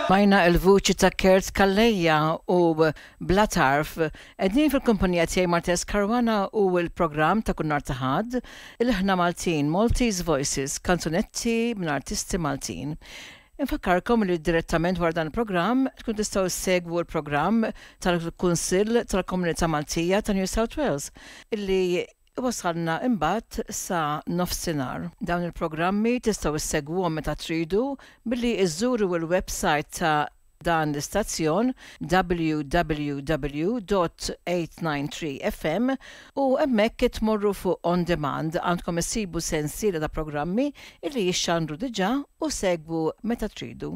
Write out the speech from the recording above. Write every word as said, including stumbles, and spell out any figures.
Smajna il-vuċi ta' Kurt Calleja u Bla Tarf. Qegħdin fil-kumpanija tiegħi Martes Caruana u l-programm ta' kull nhar ta' Ħadd, Ilħna Maltin, Maltese Voices, kanzunetti minn artisti Maltin. Infakkarkom li direttament wara dan il-programm tkun tistgħu segwu l-programm tal-Kunsill tal-Komunità Maltija ta' New South Wales illi wasalna imbagħad sa nofsinhar. Dawn il-programmi tistgħu issegwuhom meta tridu billi iżżuru il-website ta' dan l-istazzjon w w w punt eight nine three F M u hemmhekk tmorru fuq On Demand, għandkom issibu sensiela ta' programmi illi jixxandru diġà u segwu meta tridu.